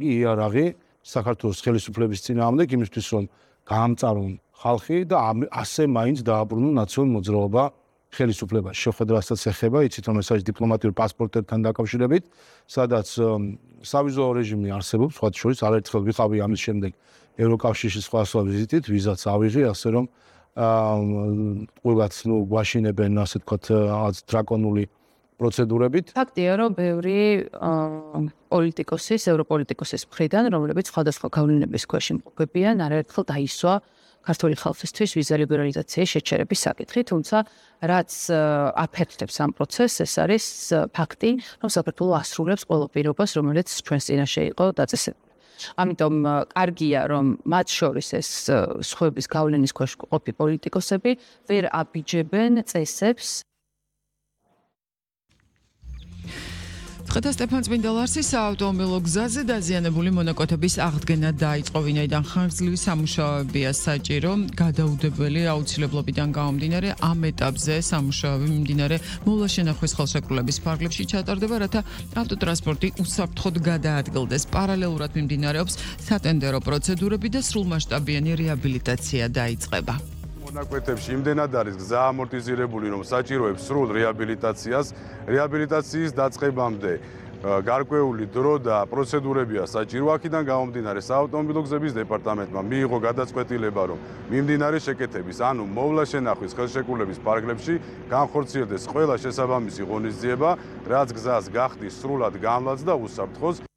იარაღი საქართველოს ხელისუფლების წინააღმდეგ იმისთვის რომ გაამწარონ ხალხი და ასე მაინც დააბრუნონ ნაციონალურ მოძრაობა ხელისუფლებას. შეხვედრასაც ეხება, იცით რომ ეს არის დიპლომატიური პასპორტებთან დაკავშირებით, სადაც სავიზო რეჟიმი არსებობს, სხვა შორის არაერთხელ ვიყავი ამის შემდეგ ევროკავშირის სხვადასხვა ვიზიტით, ვიზაც ავიღე, ასე რომ ყველაც გვაშინებენ, ასე ვთქვათ, დრაკონული პროცედურებით. ფაქტია, რომ ბევრი პოლიტიკოსის, ევროპოლიტიკოსის მხრიდან, რომლებიც სხვადასხვა გავლენების ქვეშ იმყოფებიან, არაერთხელ დაისვა ქართული ხალხისთვის ვიზა ლიბერალიზაციის შეჩერების საკითხი, თუმცა რაც აფერხებს ამ პროცესს, ეს არის ფაქტი, რომ საქართველო ასრულებს ყველა პირობას, რომელიც ჩვენს წინაშე იყო დაწესებული. ამიტომ კარგია, რომ მათ შორის ეს სხვების გავლენის ქვეშ ყოფი პოლიტიკოსები ვერ აბიჯებენ წესებს. ხეთა სტეფან წმინდალარსის საავტომობილო გზაზე დაზიანებული მონაკვეთების აღდგენა დაიწყო, ვინაიდან ხანგრძლივი სამუშაოებია საჭირო. გადაუდებელი აუცილებლობიდან გამომდინარე ამ ეტაპზე სამუშაოები მიმდინარე მოვლა-შენახვის ხელშეკრულების ფარგლებში ჩატარდება, რათა ავტოტრანსპორტი უსაფრთხოდ გადაადგილდეს. პარალელურად მიმდინარეობს სატენდერო პროცედურები და სრულმასშტაბიანი რეაბილიტაცია დაიწყება. მონაკვეთებში იმდენად არის გზა ამორტიზირებული, რომ საჭიროებს სრულ რეაბილიტაციას. რეაბილიტაციის დაწყებამდე გარკვეული დრო და პროცედურებია საჭირო. აქედან გამომდინარე საავტომობილო გზების დეპარტამენტმა მიიღო გადაწყვეტილება, რომ მიმდინარე შეკეთების, ანუ მოვლა-შენახვის ხელშეკრულების ფარგლებში განხორციელდეს ყველა შესაბამისი ღონისძიება, რაც გზას გახდის სრულად გამლაც და უსაფრთხოს.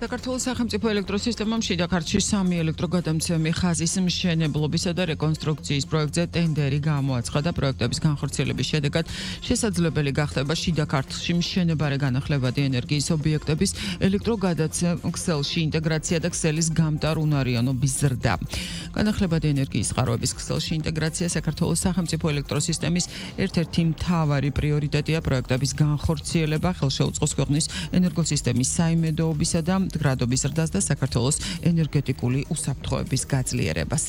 საქართველოს სახელმწიფო ელექტროსისტემამ შიდა ქართლში 3 ელექტროგადამცემი ხაზის მშენებლობისა და რეკონსტრუქციის პროექტზე ტენდერი გამოაცხადა და პროექტების განხორციელების შედეგად შესაძლებელი გახდება შიდა ქართლში მშენებარე განახლებადი ენერგიის ობიექტების ელექტროგადაცემ-ქსელში ინტეგრაცია და ქსელის გამტარ-უნარიანობის ზრდა. განახლებადი ენერგიის წყაროების ქსელში ინტეგრაცია საქართველოს სახელმწიფო ელექტროსისტემის ერთ-ერთი მთავარი პრიორიტეტია. პროექტების განხორციელება ხელშეუწყოს ქვეყნის ენერგოსისტემის საიმედოობისა და გრადობის ზრდას და საქართველოს ენერგეტიკული უსაფრთხოების გაძლიერებას.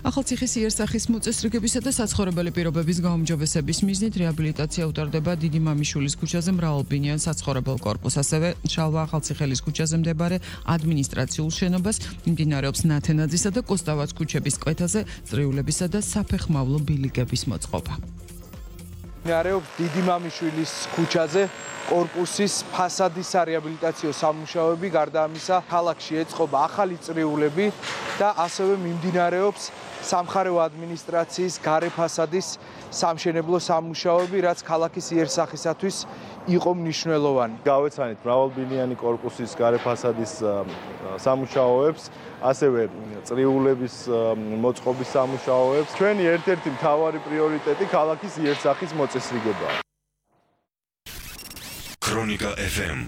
ახალციხის იერსახის მოწესრიგებისა და საცხოვრებელი პირობების გაუმჯობესების მიზნით რეაბილიტაცია უტარდება დიდი მამიშვილის ქუჩაზე მრავალბინიან საცხოვრებელ კორპუსს, ასევე შალვა ახალციხელის ქუჩაზე მდებარეობს ადმინისტრაციულ შენობას, მიმდინარეობს ნათენაძისა და კოსტავაც ქუჩების კვეთაზე წრიულებისა და საფეხმავლო ბილიკების მოწყობა. მიმდინარეობს დიდი მამიშვილის ქუჩაზე კორპუსის ფასადისარეაბილიტაციო სამუშაოები, გარდა ამისა ქალაქში ეწყობა ახალი წრიულები და ასევე მიმდინარეობს სამხარეო ადმინისტრაციის გარე ფასადის სამშენებლო სამუშაოები, რაც ქალაქის იერსახისათვის იყო მნიშვნელოვანი. გავეცანით მრავალბინიანი კორპუსის გარე ფასადის სამუშაოებს, ასევე წრიულების მოწყობის სამუშაოებს. ჩვენი ერთ-ერთი მთავარი პრიორიტეტი ქალაქის იერსახის მოწესრიგებაა. Kronika FM